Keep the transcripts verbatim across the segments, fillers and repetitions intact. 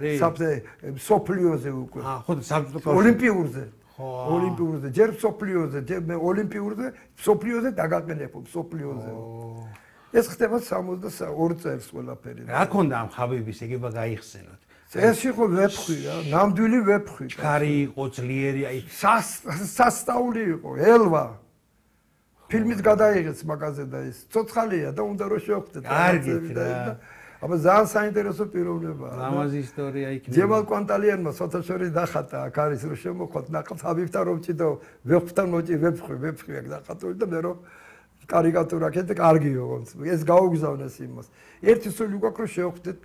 საბჭოთა სოფლიოზე უკვე. აა, ხო, საბჭოთა კავშირი. ოლიმპიურზე. ხო. ოლიმპიურზე, ჯერ სოფლიოზე, ჯერ მე ოლიმპიურზე, სოფლიოზე დაგაყენებო, სოფლიოზე. ეს ხდება სამოცდაორი წელს ყველაფერი. რა ქონდა ამ ხაბიბის ეგება გაიხსენოთ? ეს იყო ვეფხვი რა, ნამდვილი ვეფხვი. ჩქარი იყო, ძლიერი, აი სასწაული იყო, ელვა. ფილმით გადაიღეს მაგაზე და ის ცოცხალია და უნდა რომ შევხვდეთ. კარგით რა. აბა ძალიან საინტერესო პიროვნება. ლამაზი ისტორია იქნება. ჯემალ კვანტალიანმა საერთაშორისო დახატა აქ არის რომ შემოხვდეთ ნახავთ ხაბიბთან რომ ჭიდო ვეფხვთან მოჭი ვეფხვი ვეფხვი აქ დახატული და მე რომ კარიკატურა ქეთ კარგიო ეს გაუგზავნეს იმას. ერთი სული უკვე რომ შევხვდეთ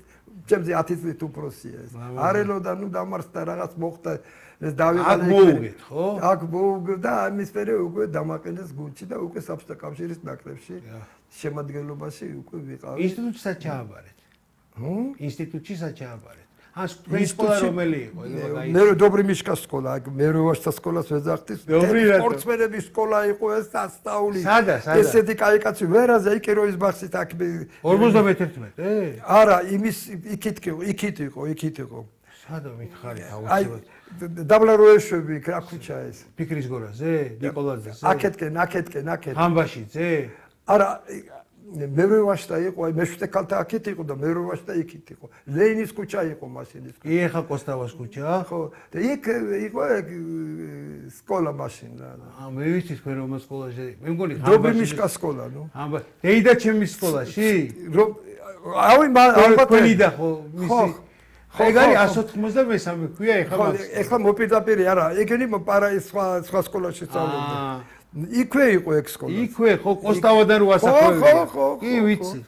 ჩემზე ათი წლით უფროსია ეს. არელოდა ნუ დამარცხდა რაღაც მოხდა ეს დავიღალე. აქ მოუგეთ ხო? აქ მოუგე და ამის მერე უკვე დამაყენეს გუნდში და უკვე საბჭოთა კავშირის ნაკრებში შემადგენლობაში უკვე ვიყავი. ინსტიტუტშიაც ჩააბარეთ. ჰმ? ინსტიტუტშიაც ჩააბარეთ. ან თქვენი სკოლა რომელი იყო? მე დობრი მიშკას სკოლა, აქ მეროვაშთა სკოლას ვეძახდი. სპორტსმენების სკოლა იყო ეს სასწაული. სადა, სადა? ესეთი კაი კაცი ვერაზე იქ ეროის ბაღშით აქ ორმოცდამეთერთმეტე? არა, იმის იქით იყო, იქით იყო, იქით იყო. სადა მითხარი აუცილებლად. დაბლაროეშვები იქ რა ქუჩა ეს? ფიქრის გორაზე, ნიკოლაძეზე? აქეთკენ, აქეთკენ, აქეთ. ამბაშიძე? არა მეროვაშთა იყო, აი მეშვიდე ქალთა აქეთ იყო და მეროვაშთა იქით იყო. ლეინის ქუჩა იყო მაშინ ის. კი, ეხა კოსტავას ქუჩა? ხო, და იქ იყო სკოლა მაშინ რა. აა, მე ვიცი თქვენ რომ სკოლაში, მე მგონი დობრი მიშკას სკოლა, ნუ. ამბა, დეიდა ჩემის სკოლაში? რომ ავი ალბათ თქვენიდა ხო, მისი. ეგ არის εκατს ოცდამესამე ქვია ეხლა მას. ეხლა მოპირდაპირე არა, ეგენი პარა სხვა სხვა სკოლაში სწავლობდა. იქვე იყო ეგ სკოლა. იქვე ხო კოსტავადან რო ასახვევია. ხო, ხო, ხო. კი, ვიცი.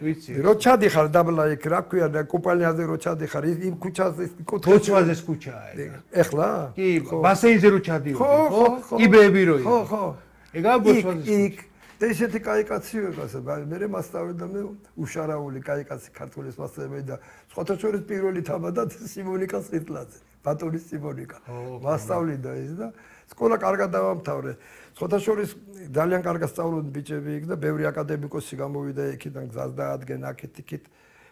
ვიცი. რო ჩადიხარ დაბლა იქ რა ქვია და კუპალიაზე რო ჩადიხარ იმ ქუჩაზე კუთხეში. თოჩვაზეს ქუჩაა ეგ. ეხლა? კი, ბასეინზე რო ჩადიოდი, ხო? იბეები რო იყო. ხო, ხო. ეგაა ბოჩვაზეს. იქ და ესეთი კაი კაცი ვიყავსა, მე მასწავლე და მე უშარაული კაი კაცი ქართულის მასწავლებელი და სხვათა შორის პირველი თამადად სიმონიკა სიტლაძე, ბატონის სიმონიკა. მასწავლიდა ის და სკოლა კარგად დავამთავრე. სხვათა შორის ძალიან კარგად სწავლობდნენ ბიჭები იქ და ბევრი აკადემიკოსი გამოვიდა იქიდან გზას დაადგენ აქეთ იქით.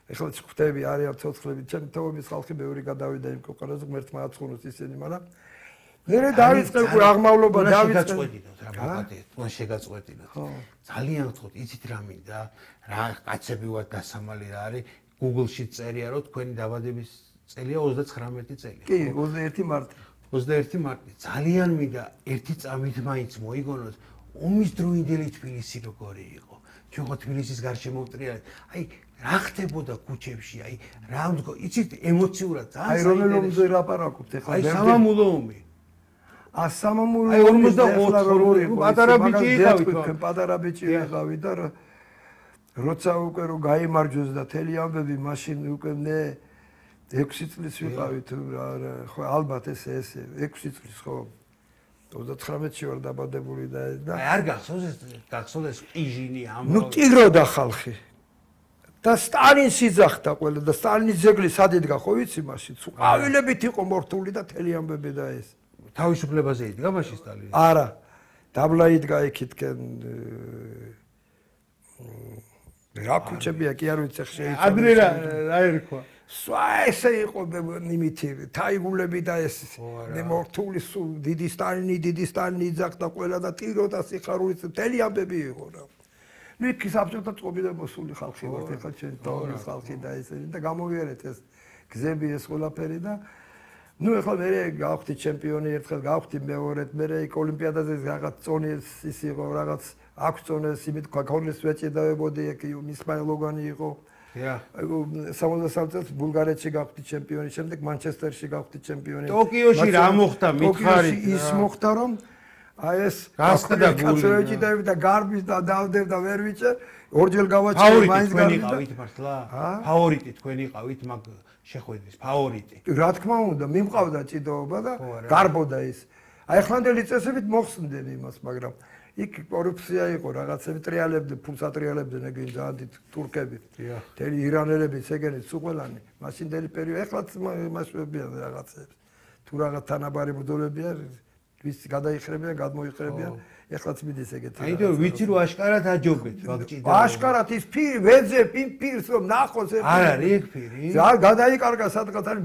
ეხლა ხვდები არიან ცოცხლები, ჩემი თაობის ხალხი ბევრი გადავიდა იმ ქვეყანაზე, ღმერთმა აცხონოს ისინი, მაგრამ მერე დავიწყე უკვე აღმავლობა დავიწყე. შეგაწყვეტინოთ რა მოკადე, თქვენ შეგაწყვეტინოთ. ძალიან გთხოვთ, იცით რა მინდა, რა კაცები ვართ დასამალი რა არის, Google-ში წერია რომ თქვენი დაბადების წელია ოცდაცხრამეტი წელი. კი, ოცდაერთი მარტი. ოცდაერთი მარტი. ძალიან მინდა ერთი წამით მაინც მოიგონოთ ომის დროინდელი თბილისი როგორი იყო. ჩვენ ხო თბილისის გარშემო ვტრიალეთ. აი რა ხდებოდა ქუჩებში, აი რა მდგო, იცით ემოციურად ძალიან აი რომელ ომზე ლაპარაკობთ ეხლა? აი სამამულო ომი. ა სამამულო აი ორმოცდაოთხი პატარა ბიჭი იყავით, პატარა ბიჭი იყავით და როცა უკვე რო გაიმარჯვეს და თელი ამბები მაშინ უკვე მე ექვსი წლის ვიყავით, ხო ალბათ ეს ეს ექვსი წლის ხო ოცდაცხრამეტში ვარ დაბადებული და და აი არ გახსოვს ეს გახსოვს ეს ყიჟინი ამ ნუ ტიროდა ხალხი და სტალინს იძახდა ყველა და სტალინის ძეგლი სად იდგა ხო ვიცი მაშინ ყვავილებით იყო მორთული და თელი ამბები და ეს თავისუფლებაზე იდგა მაშინ სტალინი? არა, დაბლა იდგა იქითკენ რა ქუჩებია კი არ ვიცი ხე ადრე რა რა ერქვა? სვა ესე იყო იმითი თაიგულები და ეს მორთული დიდი სტალინი დიდი სტალინი იძახდა ყველა და ტიროდა სიხარულით თელი ამბები იყო რა. ნუ იქ საბჭოთა წყობი და მოსული ხალხი ვართ ეხლა ჩვენ თორეს ხალხი და ესე და გამოვიარეთ ეს გზები ეს ყველაფერი და ნუ ეხლა მე გავხდი ჩემპიონი ერთხელ გავხდი მეორედ მე იქ ოლიმპიადაზე რაღაც წონეს ის იყო რაღაც აქვს წონეს იმით ქონდეს ვეჭედავებოდი იქ ისმაილ ლოგანი იყო Ja. სამოცდასამი წელს ბულგარეთში გავხდი ჩემპიონი, შემდეგ მანჩესტერში გავხდი ჩემპიონი. ტოკიოში რა მოხდა მითხარით? ის მოხდა რომ აი ეს გასხდა გული და გარბის და დავდებ და ვერ ვიჭე, ორჯერ გავაჭრე მაინც გავიყავით მართლა? ფავორიტი თქვენ იყავით მაგ შეხვედრის ფავორიტი. რა თქმა უნდა, მიმყავდა ჭიდაობა და გარბოდა ის. აი ახლანდელი წესებით მოხსნდნენ იმას, მაგრამ იქ კორუფცია იყო, რაღაცები ტრიალებდნენ, ფულს ატრიალებდნენ ეგენი ძალიან დიდ თურქები. თელი ირანელები, ეგენიც უყველანი, მაშინდელი პერიოდი, ეხლაც მასშტაბებია რაღაცებს. თუ რაღაც თანაბარი ბრძოლებია, ვის გადაიხრებიან, გადმოიხრებიან, ეხლაც მიდის ეგეთი. აიტო ვიცი რომ აშკარად აჯობეთ ვაგჭიდა. აშკარად ის ფირი, ვეძებ იმ ფირს რომ ნახოს ერთი. არ არის ეგ ფირი? რა გადაიკარგა სადღაც არის